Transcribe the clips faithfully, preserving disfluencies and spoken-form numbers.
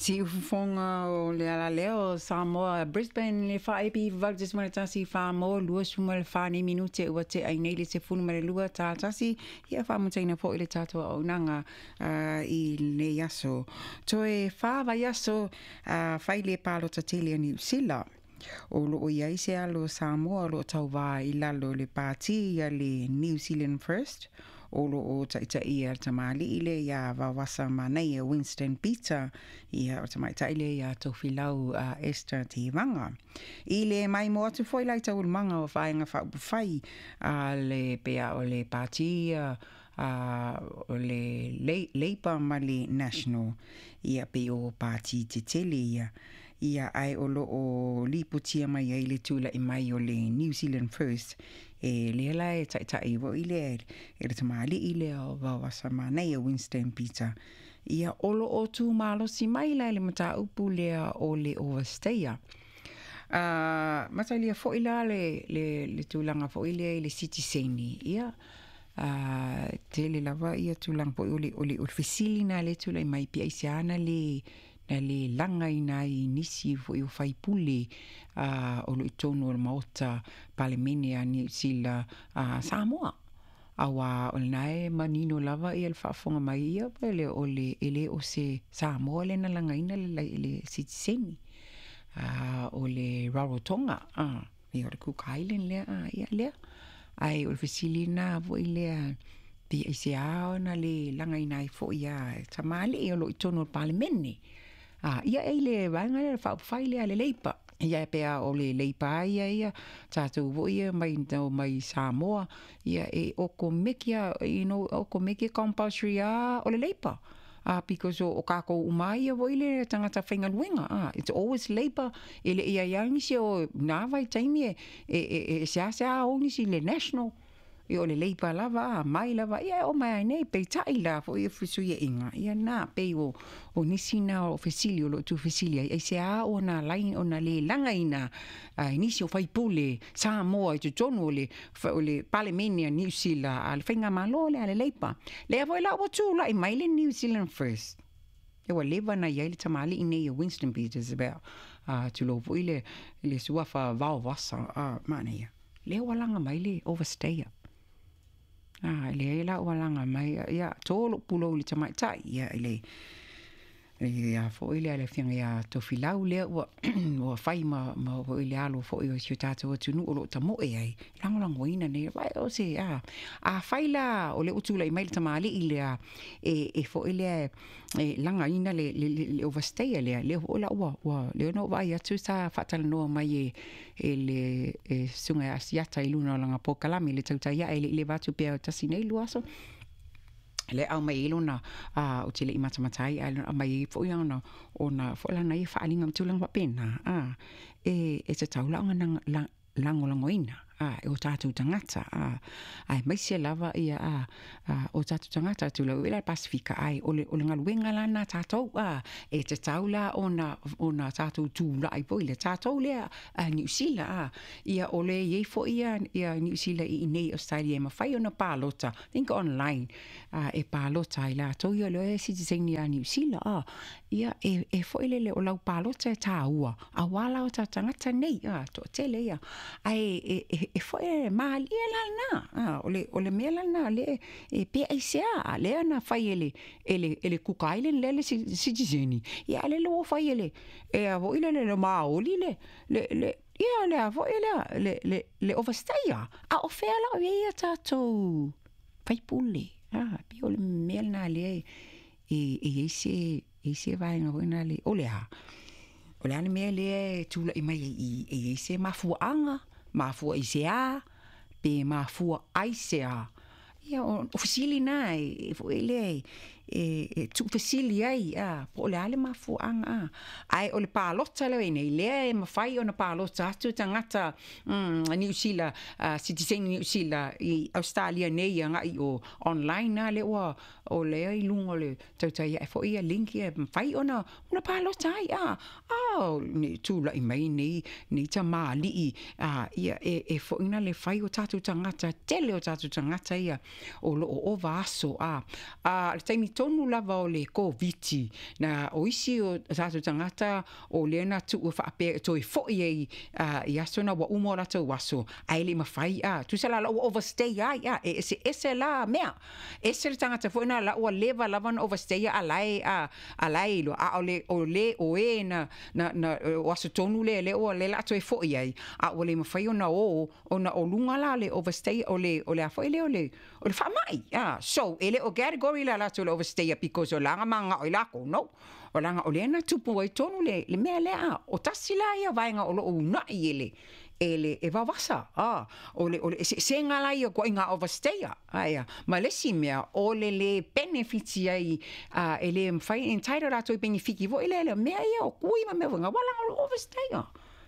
Siufofoga o le alaleo Samoa Brisbane le faaepi valu tesima le tasi fa mo lua suma le fa nei minute ua te ai nei le sefulu ma le lua ta tasi ia faamutaina foʻi le tatou auaunaga i lenei aso. Toe fa vaiaso fai le palota tele a Niu Sila. O loo iai se alo Samoa o loo tauvā i lalo o le pātī a le New Zealand First o loo taʻitaʻia le tamalii lea iā Vaovasa Manaia Winston Peter ia o tamaitai lea iā Tofilau uh, Esther Tevaga. I le maimoa atu foi la i taualumaga o vaega faaupufai a le pea o le pātī uh, o le Labour ma le National ia pei o pātī tetele ia ia ae o loo lipotia mai ai le tulaʻi mai o le New Zealand First e lea la e taʻitaʻi foʻi lea e le tamalii lea o Vaovasa Manaia Winston Peter ia o loo tumalosi mai la i le mataupu lea o le overstayer. Uh, matalia foʻi la le, le, le tulaga foʻi lea i le sitiseni ia uh, tele lava ia tulaga foʻi o le, o le, o le fesili na le tulaʻi mai pe aisea na le na le lagaina ai nisi foʻi o faipule uh, o loo i totonu o le maota palemene a Niu Sila uh, Samoa auā o lena e manino lava ia le faafofoga mai ia pe le o le e lē o se Samoa le na lagaina le, le sitiseni uh, o le Rarotonga uh, ia o le Cook Island lea uh, ia lea ae o le fesili lena foʻi lea pe aisea ona le lagaina ai foʻi a tamalii o loo i totonu o le palemene. Ah, ia e le vaega lea le faaupufai lea le Labour. Ia pe a o le Labour ia ia tatou foʻi ia mai mai Samoa ia e okomeki a you know okomeki compulsory a o le Labour. Ah, because o, o kākou uma ia foʻi le tagata faigaluega. Ah, it's always Labour e le ia ia nisi o nā vaitaimi e e e, e seasea o nisi le National ia o le Labour lava a mai lava ia e o mai ai nei peitaʻi la foʻi e fesuiaʻiga ia na pei o o nisi na o fesili o loo tuufesili ai aisea ona lai ona lē lagaina ai nisi o faipule Samoa i totonu o le o le palemene a Niu Sila a le faigamālō lea a le Labour lea foi la ua tulaʻi mai le New Zealand First e ua leva na iai le tamalii nei o Winston Peters about uh, tulou foʻi le le suafa Vaovasa uh, manaia lea ua laga mai le overstayer. Ah, leai la ua laga mai ia tō lou pulou i le tamaitai ia i le ia foʻi lea le afioga iā Tofilau lea ua ua fai ma ma foʻi le alo foʻi o si o tatou atunuu o loo tamoe ai lagolagoina nei vai o se a a fai la o le ua tulaʻi mai le tamalii lea e e foʻi lea e lagaina le le le overstayer lea lea foʻi la ua ua lea na ou vaai atu sa faatalanoa mai e e le e susuga ia Asiata i luna o lana polokalame le tautai ae leʻi leva atu pea tasi nei lua aso le au mai lona a o te lei matamata ai ae aumai ai foʻi ona ona foʻi lana ia faaaliga ma tulaga faapena a e e tatau la ona la lagolagoina a e o tatou tagata a aemaise lava ia a a o tatou tagata tulou i la Pasifika ae o le o le galuega lana tatou a e tatau la ona ona tatou tulaʻi foi le tatou lea a Niu Sila a ia o le iai foʻi ia ia Niu Sila i inei Australia e mafai ona palota think online a e palota ai latou ia le sitiseni a Niu Sila a ia e e foʻi lele o lau palota e tāua auā la o tatou tagata nei a toatele ia ae e e e foʻi e malie la lena a o le o le mea la lena le e pe aisea a lea na fai e le e le e le Cook Island lea le sitiseni ia a le ua fai e le e a foʻi le le maoli le le le ia le a foʻi lea le le le overstayer a o fea la o iai ia tatou faipule a pei o le mea lena lea e e iai se iai se vaega foi na le o le a o le a le mea lea e tulaʻi mai ai i e iai se mafuaaga mafua i se a pe mafua ai se a ia o, o fesili na e, e foi lea e, e, e tuufesili ai a po o le a le mafuaaga a ae o le palota lea nei lea e mafai ona palota atu tagata mm, Niu Sila uh, sitiseni Niu Sila i Australia nei agaʻi o online na lea ua o lea i luga o le tautai ae foʻi ia link ia e mafai ona ona palota ai a a nei tulaʻi mai nei nei tamalii a ia e e foʻi na le fai o tatou tagata tele o tatou tagata ia o loo ova aso a a le taimi tonu lava o le Koviti na o isi o tatou tagata o lea na tuua faapea e toe fo'i ai uh, i aso na ua uma o latou aso ae le i mafai a tusa la la ua overstay ai a e ese ese la mea ese le tagata foi na la ua leva lava na overstay a lae a a lae iloa a o le o le o e na na na o aso tonu le le ua le la toe fo'i ai a ua le mafai ona o ona o luga la le overstay o le o le a foi le o le o le faamai a. So e le o category la latou le overstay because o laga magao i lakou no o laga o lea na tupu ai tonu le le mea lea o tasi la ia vaega o loo uunai e le e le e vavasa a o le o le eseesega la ia ituaiga overstayer aia ma le isi mea o le le benefit ai a e le mafai entitle latou i benefiki foi lea le mea ia o kui ma mea foi wala o overstayer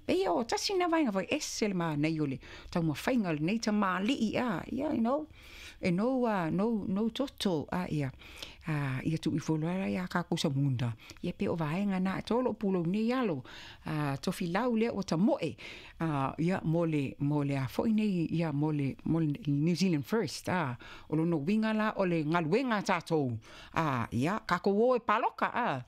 e ia o tasi na vaega foi ese le manaia o le taumafaiga o lenei tamalii a ia you know e no uh, no no toto a ia a ia tu i folo ala ia ka kusa munda ia pe o vaega na tolo pulo nei alo a tofilau lea ua tamoe a ia mo le mo le a foi nei ia mo le mo le New Zealand First a o lona uiga la o le galuega a tatou a ia kakou o e paloka a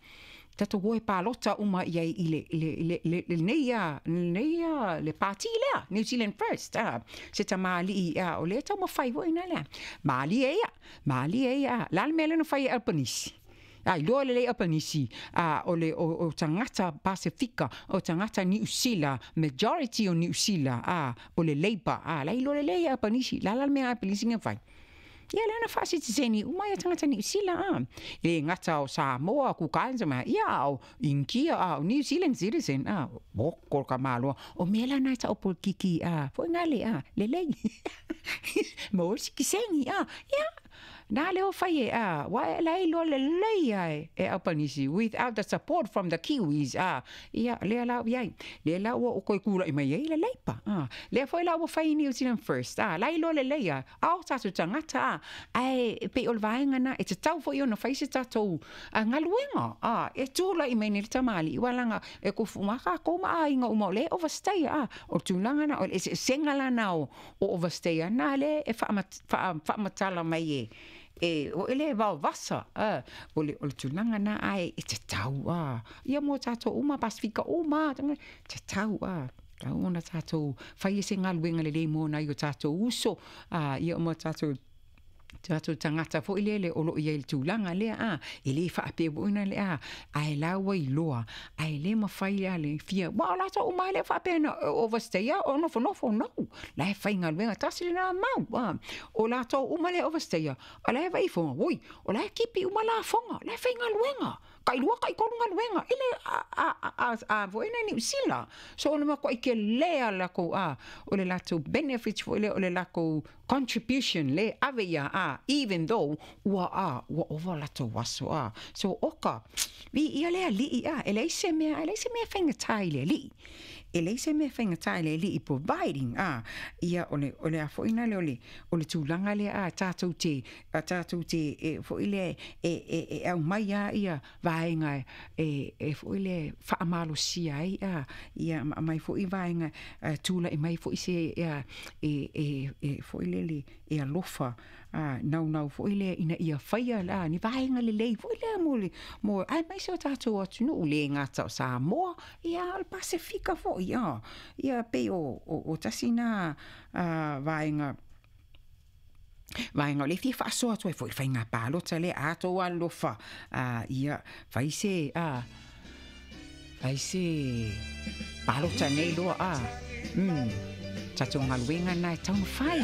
tatou o e palota uma i ai i le le le le lenei ia lenei ia le pati lea New Zealand First a se tamalii a o lea taumafai foi na lea malie ia malie ia la le mea lea na fai e Albanese a iloa lelei Albanese a o le o, o tagata Pasifika o tagata Niu Sila majority o Niu Sila a o le Labour a la iloa lelei Albanese la la le mea Albanese na fai ia lea na faasitiseni uma ia tagata Niu Sila a e gata o Samoa Cook Islands ma ia o Inkia a o New Zealand citizen a oko ka maloa o mea la na e tau polokiki a foi ngale a lelei mo sikiseni a ia na leo fai e a wa e la iloa lelei ai e Albanese without the support from the Kiwis a ia lea la iai lea la ua o koe kula'i mai ai le Labour a lea foi la ua fai New Zealand First a la iloa lelei a ao tatou tagata a ae pei o le vaega na e tatau foi ona fai se tatou a galuega a e tula'i mai nei le tamalii ua e kufu ma ma aiga uma o le overstay a o le tulaga na o le eseesega lana o o overstay na le e faamatala mai e e o ele vaovasa a o le o le tulaga na ae e tatau a ia mo tatou uma Pasifika uma tatau a tau ona tatou fai e se galuega lelei mo nai o tatou uso a ia mo tatou tatou tagata foi lele o loo iai le tulaga lea a e lē faapea foʻi le a ae la ua iloa ae lē mafai a le fia ua o latou uma lea faapea na overstay a o nofonofo no la e faigaluega tasi lena mau a o latou uma lea overstay a o la e vaifoga oi o la e kipi uma lafoga la e faigaluega kai lua kai tolu galuega ile a a a a foi na Niu Sila so o le makuai kelē a lakou a o le latou benefits foi lea o le lakou contribution le ave ia a even though ua a ua ova latou aso a so oka vi ia le alii a e leai se mea e leai se mea faigata i le alii e leai se mea faigata i le alii providing a ia o le o le a foi na le o le o le tulaga lea a tatou te a tatou te e foi le e e e aumai a ia vaega e e foi le faamalosia ai a ia ma mai foi vaega tula'i mai foi se ia e e e foi lele e alofa a naunau foi lea ina ia faia la ni vaega lelei foi lea mo le mo ae mai se o tatou atunuu le gata o Samoa ia o le Pasifika foi a ia pei o o, o tasi na a vaega vaega o le fia faasoa atu ai foi le faiga palota lea a tou alofa a ia fai se a fai se palota nei loa a mm tatou galuega na e taumafai.